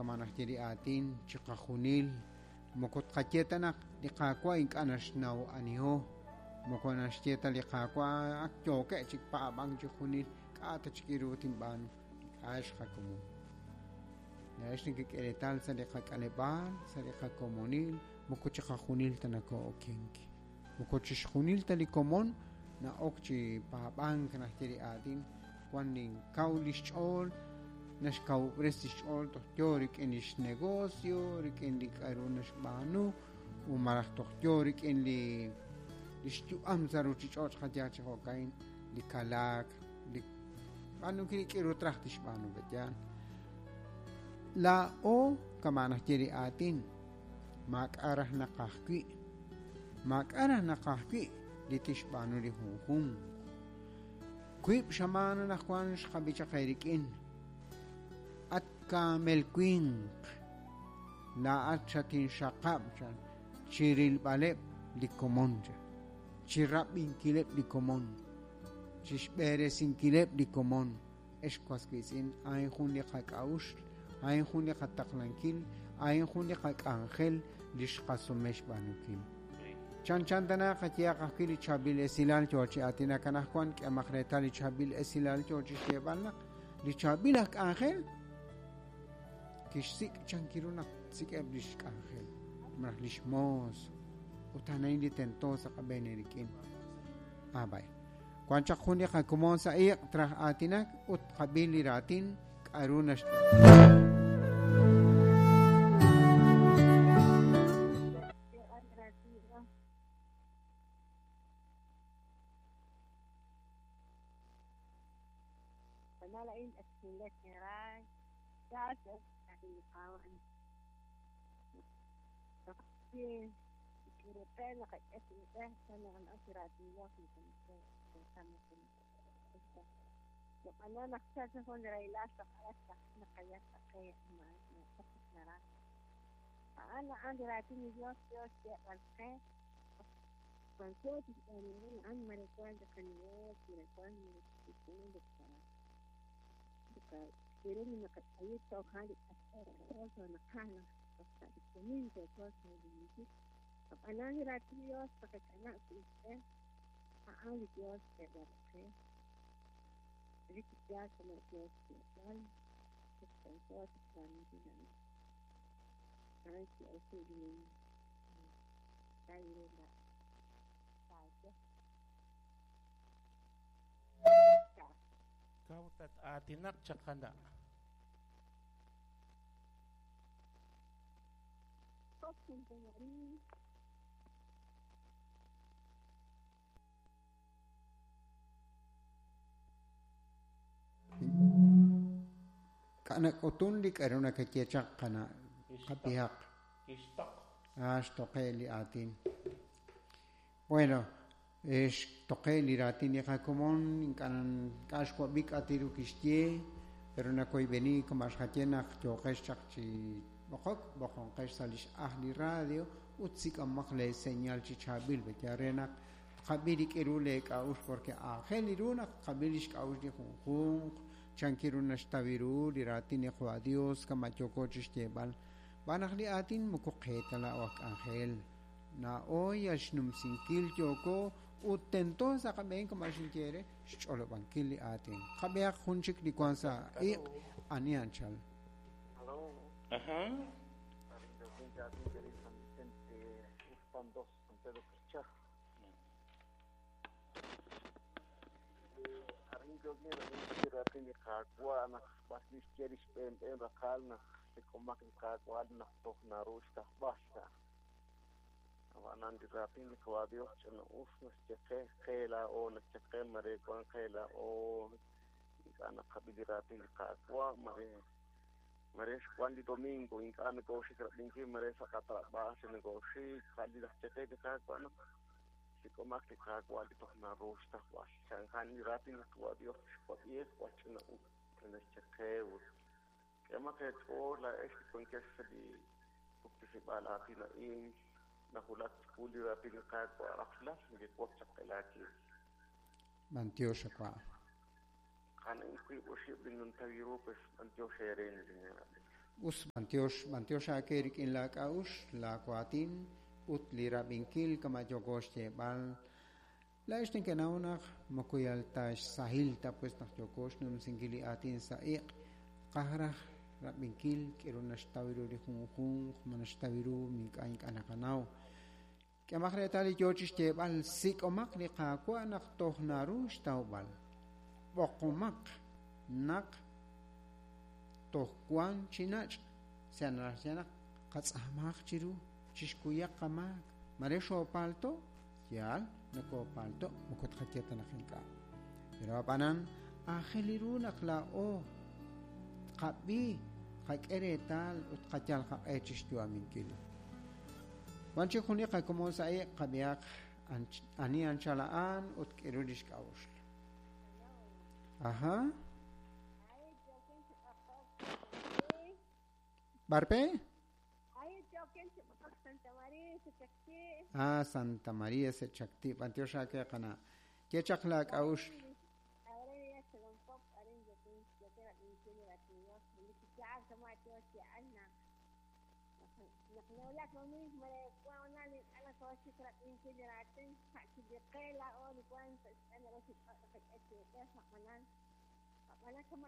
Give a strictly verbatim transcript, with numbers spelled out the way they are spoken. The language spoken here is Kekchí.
Kama naxye li aatin chiqajunil moko tqaye ta naq li Qaawa' ink'a' naxnaw aniho moko naxye ta li Qaawa' ak yookeb' chik paab'ank chijunil k'a' ta chik iru tinb'aanu ink'a' xqakomon. Laa'ex nekek'e sa' li qak'aleb'aal sa' li qakomonil moko chiqajunil ta nakoo'okenk moko chixjunil ta li komon na'ok chi paab'ank naxye li aatin wan ninkaw lix ch'ool naxkawub'res lix ch'ool toj yo rik'in lix negocio rik'in li k'a'ru naxb'aanu u malaj toj yo rik'in li lix yu'am sa' ruchich'och' qayaj chi jo'kain li kalaak li b'aanunkil li k'iru traj tixb'aanu pe'yaal laa'o kama naxye li aatin maak'a' raj naqajwi' maak'a' raj naqajwi' li tixb'aanu li junjunq wiib' xamaana najwan xqab'i chaq eerik'in at kaamel winq laa'at xatinxaqab' chan chirilb'aleb' li komon chan chirab'inkileb' li komon chixb'eresinkileb' li komon ex was wiitz'in a'in jun li qak'a'uxl a'in jun li qataqlankil a'in jun li qak'anjel li xqasume xb'aanunkil chan chan tana qayehaq ajwi' li chaab'il esilal yo chi aatinak anaqwan k'emaq reetal li chaab'il esilal yo chi xyeeb'al naq li chaab'il aj k'anjel kixsik' chankiru naq tsik'eb' lix k'anjel malaj lix moos ut a'an li tento sa' qab'een eerik'in ah bay wan chaq jun li qakomon sa' iq' traj aatinak ut qab'il li raatin k'a'ru nax Kawtat aatinak chaqana. K'anak'utun li k'a'ru nakaye chaq qana qab'ihaq Kixtoq. ah xtoqe li aatin bueno xtoqe li raatin li qakomon ink'a' ink'a' xwab'i k'atiru kixye pero nakoyb'eni kama xqaye naq yooqex chaq chi b'oqok b'oqonqex sa' lix aj li radio ut sik'amaq le señal chi chaab'il pe'ya re naq tqab'i li k'iru le k'a'uxl porque aajel iru naq tqab'i lix k'a'uxl li junjunq chankiru naxtawiru li raatin li Qwa Dios kama yooko chi xyeeb'al b'anaq li aatin moko qeeta laa'o aj k'anjel na'o yal xnumsinkil yooko ut tento sa' qab'een kama xinye re xch'olob'ankil li aatin qab'ehaq jun chik li wan sa' iq' ani anchal Aló, Ajá. San Vicente, Uxpan dos, San Pedro Carchá. Maresh Juan di Domingo, ink'a' nokooxik rab'inkil mare sa' qatrab'aaj xinokooxik ja'li laj cheqe li Qaawa' naq sik'omaq li Qaawa' li toj naru xtajb'al chanjan li raatin laj Qwa Dios xwab'iej jwal ch'ina-us naxcheqe ut k'emaq eech'ool laa'ex li wankex sa' li puktisib'aal aatin a'in najulak chiwu li raatin li Qaawa' rajlal neke'wok chaq qelaakil b'antiox xawa' qana wiib' oxib' li nuntawiru pues b'antiox eeren li Us b'antiox b'antiox aake rik'in laak'a'uxl laawaatin ut li rab'inkil kama' yooko xyeeb'al laa'ex nekenaw naq moko yal ta xsahil ta pues naq yooko xnumsinkil li aatin sa' iq' qaj raj rab'inkil k'eru naxtaw ru li junjunq ma naxtaw ru ink'a' ink'a' naqanaw k'emaq reetal li yoo chi xyeeb'al sik'omaq li Qaawa' naq toj naru xtawb'al b'oqomaq naq toj wan chi nach' sa naxye naq qatz'aamaq chiru chixkuyaq qamaak mare xoopalto yaal nakoopalto moko tqaye ta naq ink'a' pero ab'anan aajel ru naq laa'o tqab'i tqak'e reetal ut tqayal qaq'e chi xyu'aminkil wan chik jun li qakomon sa' iq' qab'ihaq ani anchal a'an ut k'eru li xk'a'uxl aja Barpe? Ah, Santa María se chakti. B'antiox aake qana. Ye chaq laak'a'uxl.